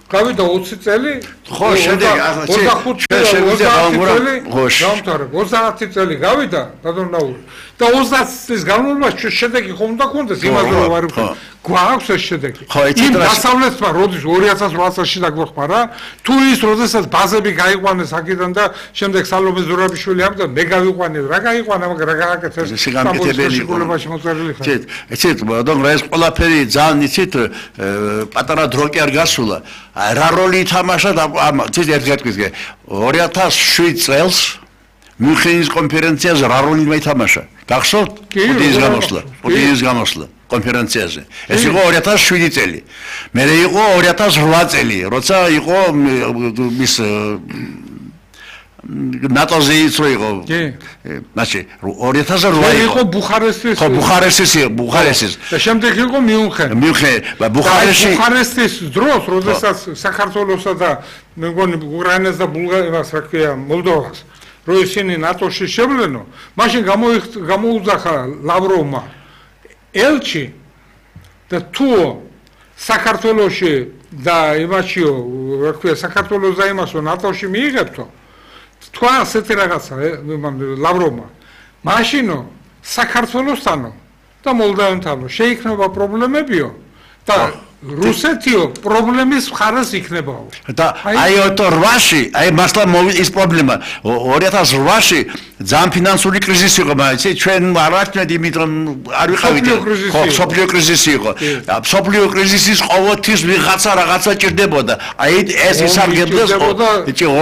გავიდა 20 წელი, ხო, შემდეგ 25 წელი გავიდა, ბატონო ნაური. და 30 წლის განმავლობაში შედეგი ხომ უნდა კონდეს იმაზე რომ არ გვაქვს ეს შედეგი. იმ დასავლეთმა როდის 2008 წელს დაგვეხმარა რა, თუ ის როდესაც ბაზები გაიყვანეს აქედან და შემდეგ სალომე ზურაბიშვილი ამდა მე გავიყვანე, რა გაიყვანა, მაგრამ რა გააკეთეს სამოწმებაში მოწერილი ხარ. იცით, ბატონო, ეს ყველაფერი ძალიან იცით, პატარა დრო კი არ გასულა. რა როლი ითამაშა იცით ერთ-ერთი 2007 წელს მუნხენის კონფერენციაზე რა როლი ითამაშა? გახსოვთ? პუტინის გამოსვლა კონფერენციაზე. ეს იყო 2007 წელი. მერე იყო 2008 წელი, როცა იყო მის ნატოზე ის იყო. მაშინ 2008 იყო ბუხარესტის. ხო, ბუხარესტის. და შემდეგ იყო მიუნხენი. ბუხარესტის დროს, როდესაც საქართველოსა და მე მგონი უკრაინას და ბულგარიას, რა ქვია, მოლდოვას რო ისინი ნატოში შევლენო, მაშინ გამოუძახა ლავროვმა ელჩი და თუ საქართველოში და იმაშიო, რა ქვია, საქართველოს და იმასო ნატოში მიიღებთო, თქვა ასეთი რაღაცა ლავროვმა. მაშინო საქართველოსთანო და მოლდავეთანო შეიქმნება პრობლემებიო და რუსეთიო პრობლემის მხარეს იქნებაო. და აი 2008-ში, აი მასლა ის პრობლემა 2008-ში ძალიან ფინანსური კრიზისი იყო, მაგრამ ჩვენ არ ვაჩვენეთ იმით რომ არ ვიყავით. ხო, სოფლიო კრიზისი იყო. სოფლიო კრიზისის ყოველთვის ვიღაცა რაღაცა ჭირდებოდა. აი ეს ისარგებლეს,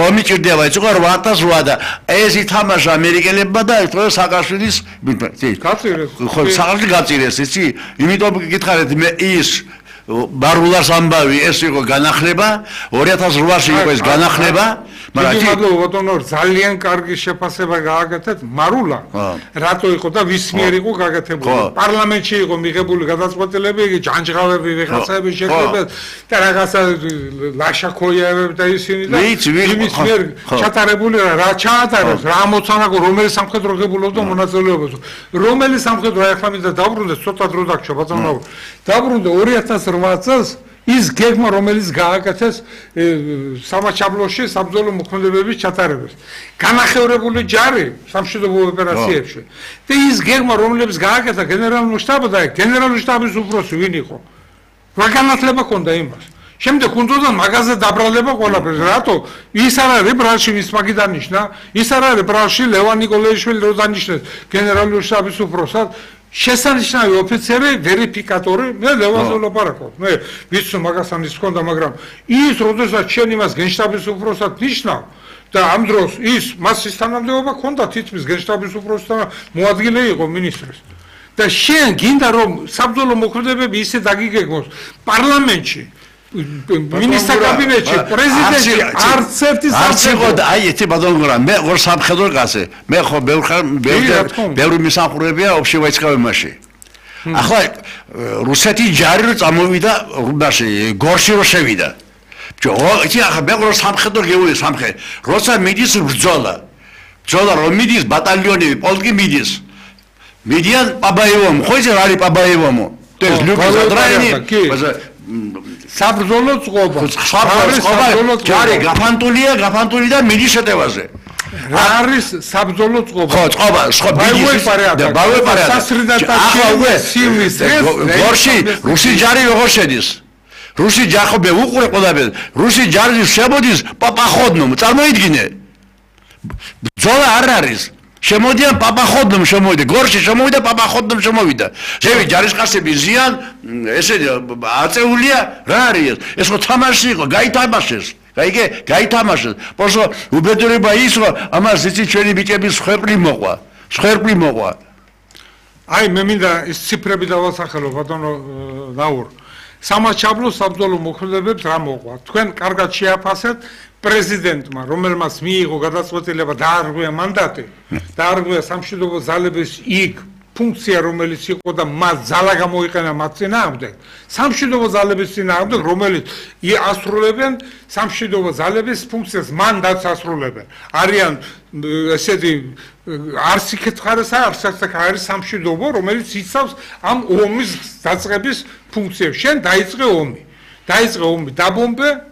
ომი ჭირდება, ეს იყო 2008 და ეს ითამაშა ამერიკელებმა და სააკაშვილის გაწირეს. ხო, სააკაშვილი გაწირეს, იცი? იმიტომ გითხარით მე ის ბარულას ამბავი ეს იყო განახლება 2008-ში იყო ეს განახლება მაგრამ ბატონო ძალიან კარგი შეფასება გააკეთეთ მარულა რატო იყო და ვის მიერ იყო გაკეთებული პარლამენტში იყო მიღებული გადაწყვეტილება იგი ჯანჯღავები ვიღაცები შეკრებათ და რაღაცა ლაშაქოიევები და ისინი და იმის მიერ ჩატარებული რა ჩაატარეს რა მოცანაკო რომელი სამხედრო ღებულობდა მონაწილეობას რომელი სამხედრო ახლა მინდა დაბრუნდეს ცოტა დრო დაგჭო ბატონო დაბრუნდა 2008 წელს ის გეგმა რომელიც გააკეთეს სამაჩაბლოში საბრძოლო მოქმედებების ჩატარებას განახევრებული ჯარი სამშვიდობო ოპერაციებში და ის გეგმა რომელიც გააკეთა გენერალურ შტაბს და გენერალური შტაბის უფროსი ვინ იყო რა განათლება ჰქონდა იმას შემდეგ უნდა მაგაზე დაბრალება ყველაფერს რატო ის არ არის ბრალში ვის მაგი დანიშნა ის არ არის ბრალში ლევან ნიკოლაიშვილი რო დანიშნეს გენერალური შტაბის უფროსად შესანიშნავი ოფიცერი ვერიფიკატორი მე ლევანზე ვლაპარაკობ მე ვიცი მაგას ამის ჰქონდა მაგრამ ის როდესაც შენ იმას გენშტაბის უფროსად ნიშნავ და ამ დროს ის მას ის თანამდებობა ჰქონდა თითქმის გენშტაბის უფროსთან მოადგილე იყო მინისტრის და შენ გინდა რომ საბრძოლო მოქმედებები ისე დაგიგეგმოს პარლამენტში მინისტრთა კაბინეტში პრეზიდენტი არც ერთი სამხედრო აი ეთი ბადონგრა მე ორ სამხედრო კაცი მე ხო ბევრი მისამხურებია ოფშევაიცკავემაში ახლა რუსეთი ჯარი რო წამოვიდა რუბაში გორში რო შევიდა იცი ახლა მე ორ სამხედრო გეული სამხედრო როცა მიდის ბრძოლა რომ მიდის ბატალიონი პოლკი მიდის მიდიან პაბაევომ ხო იცი რა არის პაბაევომო ეს ლუკა დრაინი საბრძოლო წყობა ჯარი გაფანტული და მიდის შეტევაზე რა არის საბრძოლო წყობა ხო წყობა გორში რუსი ჯარი როგორ შედის რუსი ჯახობე უყურე ყველაფერს რუსი ჯარი შემოდის პაპახოდნომ წარმოიდგინე ბრძოლა არ არის შემოდიან პაპახოდნომ შემოვიდა გორში შემოვიდა პაპახოდნომ შემოვიდა ზევი ჯარისკაცები ზიან ესე აწეულია რა არის ეს ხო თამაში იყო გაითამაშეს გაითამაშეს პოსო უბედურება ის რომ ამას იცი ჩვენი ბიჭების ხვერპლი მოყვა აი მე მინდა ის ციფრები დავასახელო ბატონო ნაურ სამაჩაბლო საბრძოლო მოქმედებებს რა მოყვა თქვენ კარგად შეაფასეთ პრეზიდენტმა რომელმაც მიიღო გადაწყვეტილება დაარღვია მანდატი დაარღვია სამშვიდობო ძალების იქ ფუნქცია რომელიც იყო და მას ძალა გამოიყენა მათ წინააღმდეგ სამშვიდობო ძალების წინააღმდეგ რომელიც ასრულებენ სამშვიდობო ძალების ფუნქციას მანდატს ასრულებენ არიან ესეთი არც იქეთ ხარეს არც არის სამშვიდობო რომელიც იცავს ამ ომის დაწყების ფუნქციებს შენ დაიწყე ომი დაბომბე